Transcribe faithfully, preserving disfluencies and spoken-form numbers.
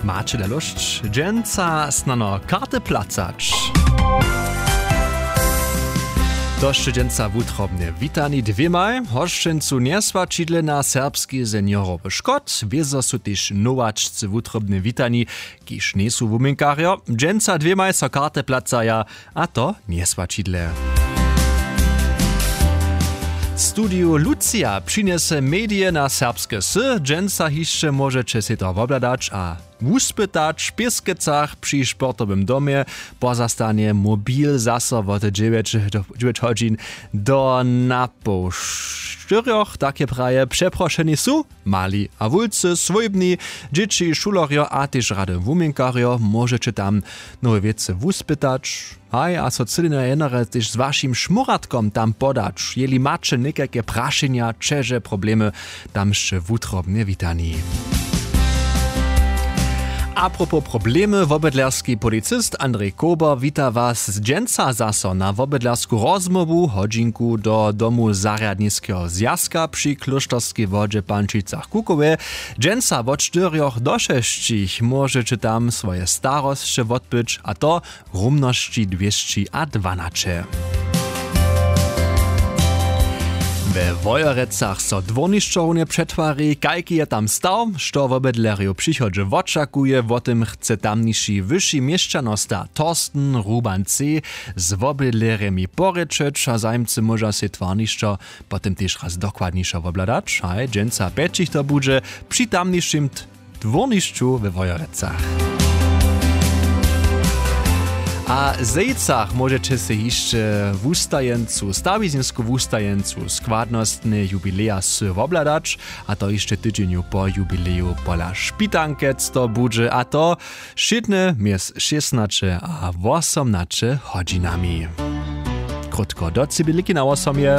Maće da lóšć dźensa snano karty placać. To sće dźensa wutrobnje witani dwěmaj hosćencu njeswaćidle na serbski seniorowy škot. Wězo su tež nowačcy wutrobnje witani, kiž njejsu wuměnkarjo. Dźensa dwěmaj so karty placaja, a to njeswaćidle. Studiju lucija přinjese medije na serbske sy. Dźensa hišće móžeće sej to wobhladać a wuspytać w pěskecach při sportowym domje. Pozastanje mobil zaso wot dźewjeć hodźin do napoł štyrjoch. Tak je praje přeprošeni su mali a wulcy swójbni, dźěći, šulerjo a tež rady wuměnkarjo. Móžeće tam nowe wěcy wuspytać. Haj, a so cyle na jenere tež z wašim šmóratkom tam podać. Jeli maće někajke prašenja, ćeže, problemy, tam sće wutrobnje witani. Apropos problemy, wobydlerski policist Andrej Kober wita was dźensa zaso na wobydlersku rozmołwu hodźinku do domu zarjadniskeho zwjazka při klóšterskej wodźe w Pančicach Kukowej. Dźensa wot štyrjoch do šesćich móžeće tam swoje starosće wotbyć, a to rumnosći dwěsći a dwanaće. We Wojerecach so dwórnišćo runje přetwari. Kajki je tam staw, što wobydlerjow w přichodźe wočakuje, wo tym chce tamniši wyši měšćanosta Thorsten Ruban C z wobydlerjemi porěčeć a zajimcy móža sej twarnišćo potom tež raz dokładnišo wobhladać. Haj, dźensa pjećich to budźe při tamnišim dwórnišću we Wojerecach. A w Zejcach móžeće sej hišće wustajeńcu, stawizinsku wustajeńcu składnostne jubileja sy wobhladać, a to hišće tydźenju po jubileju pola Špitankec to budźe, a to wšědne mjez šěsnaće a wosomnaće hodźinami. Krótko do cibiliki na wosomje.